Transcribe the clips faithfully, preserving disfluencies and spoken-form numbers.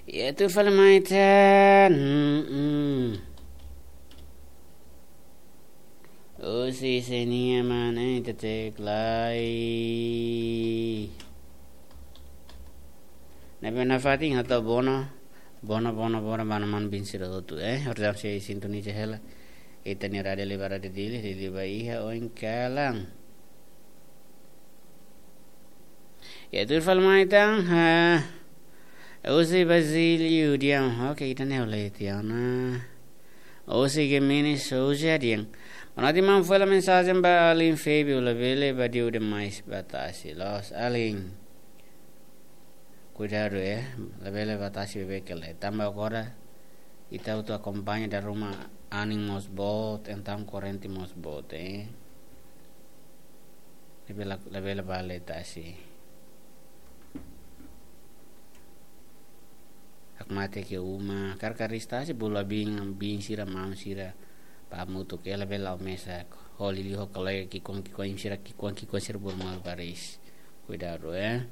Ya, tuir fali mai tan. Hmm, hmm. Husi sé nian mak ne'e, ita cek lai. Ne'ebé nafatin hato'o bono, bono, bono, bono, ba maun-alin sira hotu, eh. Horjam sei sintoniza hela. Ita-nia Rádiu Liba, Rádiu Dili, Dili ba iha oin kalan. Ya, tuir fali mai tan, ha. Husi Basílio dehan, oke, ita ne'e oleh tiana. Husi Gemini Souza dehan. Bonoite maun, fó hela mensajen ba alin Febio, labele badiu demais ba tasi. Loos alin. Kuidadu, eh, labele ba tasi beibeik lai. Tanba agora ita hotu akompaña dala ruma anin mós boot, entaun korrente mós boot, eh. Labele, labele ba tasi. Hakmatek iha uma, karik tasi bolu biin, biin sira, maun sira, ba hamutuk, labele la'o mesak. Ho liuliu ho kolega ki'ikoan, ki'ikoan sira, ki'ikoan, ki'ikoan sira bolu malu baris. Kuidadu, eh.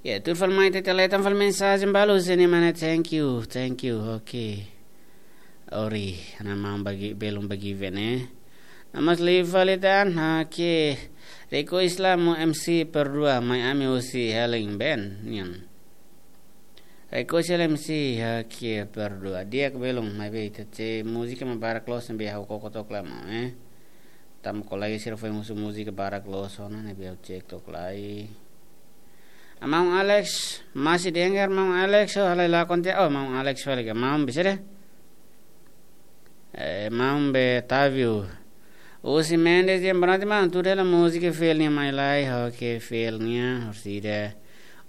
Ya, tuir fali mai tan, ita leten fali mensajen balu, husi ne'e mak ne'e, thank you, thank you, oke. Ori, ha'u-nia maun bagi, belum bagi vene. Namas liu fali tan, oke. Riko Islam, M C perdua, mai ami husi Helen Band nian. Riko Islam M C, oke, perdua. Di'ak, belum, maibé ita cek múzika mak barak loos, ne'ebé ha'u koko took lai maun, eh. Tanba kolega sira foin husu múzika barak loos ona, ne'ebé ha'u cek took lai. Maun Alex, masih dengar maun Alex, oh, halai lakon tiha, oh, maun Alex fali ka, maun bisa de'it? Eh, maun Betavio. Husi Mendes dehan bonoite maun, tuir hela múzika fiel nian mai lai, oke, fiel nian, horsida.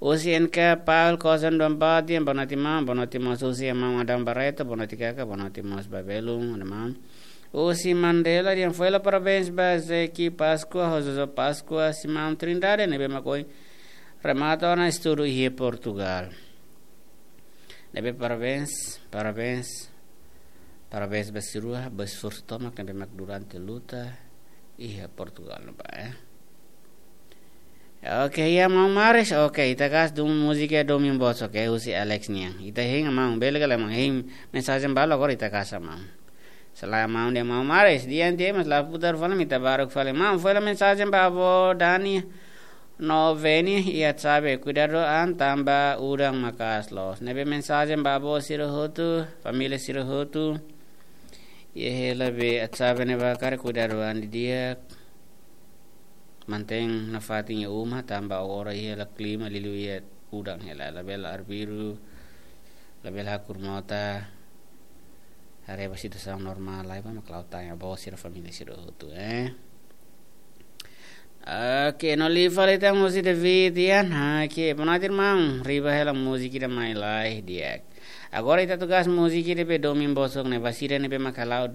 Husi N K Paul Kosan Dompat dehan bonoite maun, bonoite mós husi maun Adam Barreto, bonoite kaka, bonoite mós ba belun, ada maun. Husi Mandela dehan fó hela parabéns ba Zeki Páscoa, ho Jojo Páscoa, husi maun Trindade, ne'ebé mak ohin remata ona estudu iha Portugal. Ne'ebé parabéns, parabéns, parabéns ba sira, ba esforsu tomak ne'ebé mak durante luta iha Portugal ne'ebá, eh. Oke, ya, maun Maris, oke, ita kas dun múzika Domin Bots, oke, husi Alex nian. Ita hein maun, bele ka lae maun, hein mensajen balu agora ita kas maun. Selamat maun dehan maun Maris, dehan tiha mas la putar fali, ita baruk fali. Maun, fó hela mensajen ba avó Dani no Veni iha Atsabe, kuidadu an tanba udan maka'as loos. Ne'ebé mensajen ba avó sira hotu, família sira hotu. Iha hela be Atsabe ne'ebá karik kuidadu an didi'ak. Mantein nafatin iha uma, tanba agora iha hela klima liuliu iha udan hela, labele arbiru, labele hakur mota, haree ba situasaun normál lai ba mak la'o tan iha avó sira, família sira hotu, eh. Oke, no liu fali tan husi David, ya, nah, oke, bonoite maun, riba hela múzika ida mai lai, di'ak. Agora ita atu kas múzika ida be Domin Bots ne'e ba sira ne'ebé mak hala'o